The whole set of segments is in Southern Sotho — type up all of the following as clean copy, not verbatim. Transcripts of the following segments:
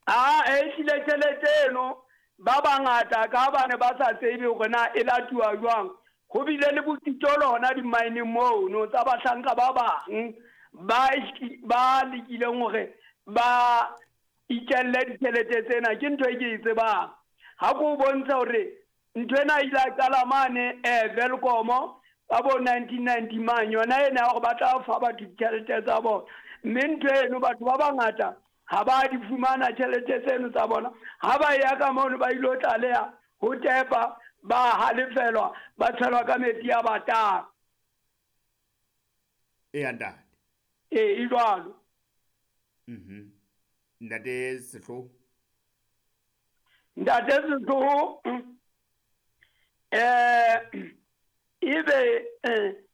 A ehlile tjhelete eno ba bangata ka ba ne ba sa tsebe hore na e latuwa jwang. Ho bile le bokitolo hona di-mine mono tsa bahlanka ba bang ba ba lekileng hore ba itjelle ditjhelete tsena. Ke ntho e ke e tsebang. Ha ke o bontsha hore Ntho ena e ile ya qala mane Welkom ka bo 1990 mang yona ena ya hore ba tla fa batho ditjhelete tsa bona. Mme ntho eno batho ba bangata ha ba di fumana tjhelete tseno tsa bona. Ha ba ya ka mono ba ilo tlaleha ho tepa ba halefelwa ba tshelwa ka metsi a batang. Eya ntate. Ee, e jwalo. Ntate Sehloho. Ntate Sehloho ebe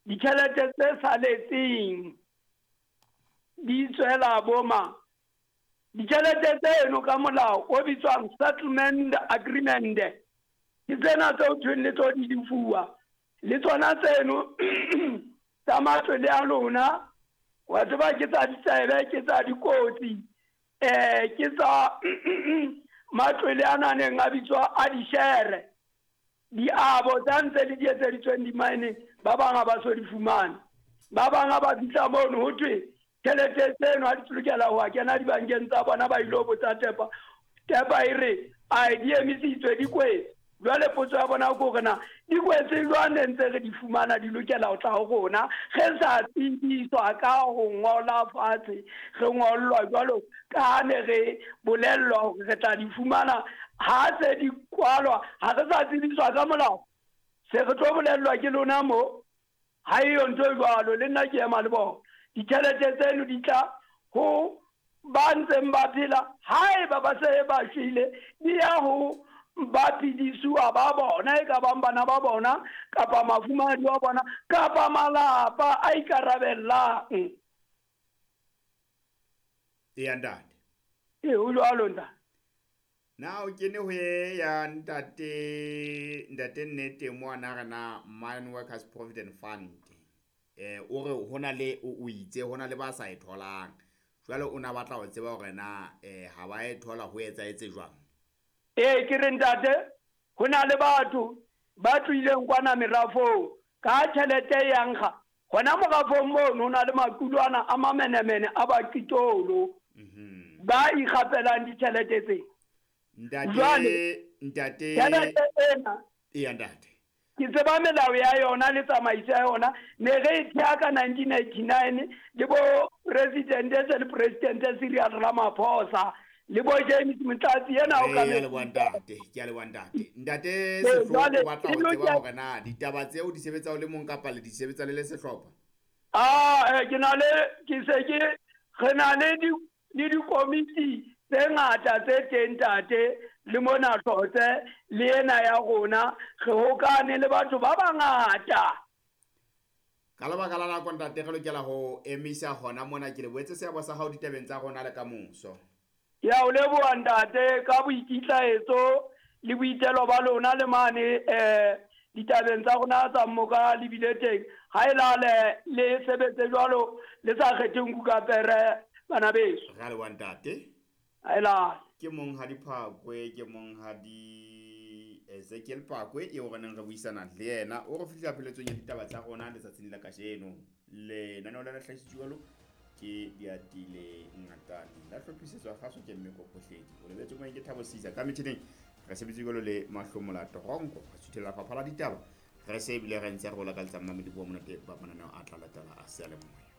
ditjhelete tse saletseng di tswela boma ditjhelete tseno ka molao o bitswang settlement agreement ke tsena tseo thweng le tlo di lefuwa le tsona tseno tsa matlole a lona wa tseba ke tsa ditsebe ke tsa dikotsi ke tsa matlwele a naneng a bitswa a dishere diabo tsa ntse le di etseditsweng dimaeneng ba bang ha ba so di fumane ba bang ha ba fihla mono ho thwe tjhelete tseno ha di lokela ho kena dibankeng tsa bona ba ilo botsa tepa tepa e re a di emisitswe di kwetse Jwale potso ya bona ke hore na di kwetse jwang ne ntse re di fumana di lokela ho tla ho rona re sa tsebiswa ka ho ngola fatshe re ngollwa jwalo ka ne re bolellwa hore re tla di fumana ha se di kwalwa ha re sa tsebiswa ka molao se re tlo bolellwa ke lona mo ha eyo ntho e jwalo le nna ke ema le bona ditjhelete tseno di tla ho ba ntseng ba phela haeba ba se ba shwele di ya ho ba phedisuwa ba bona e ka bang bana ba bona kapa mafumahadi wa bona kapa malapa a ikarabellang. Eya ntate. Ee, ho jwalo ntate. Na o kene ho e ya ntate ntate nnete mo ana re na Mine Workers Provident Fund. O re ho na le o itse ho na le ba sa e tholang. Jwale o na batla ho tseba hore na ha ba e thola ho etsahetse jwang. Ee, ke re ntate, ho na le batho ba tlohileng kwana merafong ka tjhelete e yang ga hona morafong mono ho na le maqulwana a mamenemene a baqitolo ba ikgapelang ditjhelete tse. Jwale ntate tjhelete ena eya ntate. Ke tseba melao ya yona le tsamaiso ya yona ne re e thea ka 1989 le bo presidente se le presidente Cyril Ramaphosa le bo James Motlatsi ena o ka ya leboha ntate ke ya leboha ntate ntate Sehloho o batla ho tseba hore na ditaba tseo di sebetsa o le mong kapa le di sebetsa le le sehlopha. Ah ke na le ke se ke re na le di le dikomiti tse ngata tse teng ntate le mona Hlotse le ena ya rona re hokane le batho ba bangata. Ka lebaka la nako ntate re lokela ho emisa hona mona ke lebohetse seabo sa hao ditabeng tsa rona le ka moso. Ke a o leboha ntate ka boikitlaetso le boitelo ba lona le mane ditabeng tsa rona tsa mmoka le bile teng. Ha e lale le sebetse jwalo le sa kgethe nku ka pere bana beso. Re a leboha ntate. Ha e lale. Ke monghadi Phakwe, ke monghadi Ezekiel Phakwe eo re neng re buisana le yena. O re fihla pheletsong ya ditaba tsa rona letsatsing la kajeno. Lenaneo la hlahisitswe jwalo ke Diatile Ngatane. La hlophisetswa kgaso ke Mmeko Phohledi. O lebetse moyeng ke Thabo Sisa. Ka metjhineng re sebetse jwalo le Mahlomola Toronko. Re suthela lefapha la ditaba. Re se ebile re ntse re o lakaletsa mmamedi wa monate ba mananeo a tla latela a seyalemoya.